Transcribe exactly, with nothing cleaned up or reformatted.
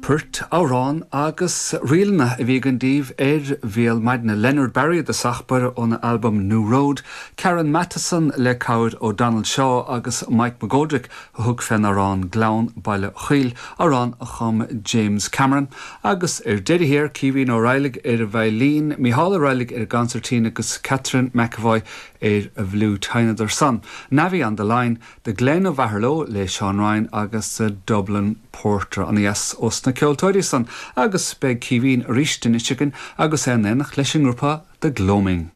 Poirt, amhráin agus ríleanna a bhí againn daoibh ar Bhéal Maidine Leonard Barry i dtosach báire óna albam New Road, Karen Matheson le cabhair ó Donald Shaw agus Mike McGoldrick a thug fén amhrán Gleann Bhaile Chaoil amhrán a chum James Cameron, agus ar deireadh thiar Caoimhín Ó Raghallaigh ar an veidhlín, Mícheál Ó Raghallaigh ar an gconsairtín agus Catherine McAvoy ar an bhfliúit sheinneadar san. Navvy on the Line, The Glen of Aherlow le Sean Ryan agus uh, Dublin Porter an dheas os na ceoltóirí san agus beidh Caoimhín arís anois againn agus é in éineacht leis an ngrúpa The Gloaming.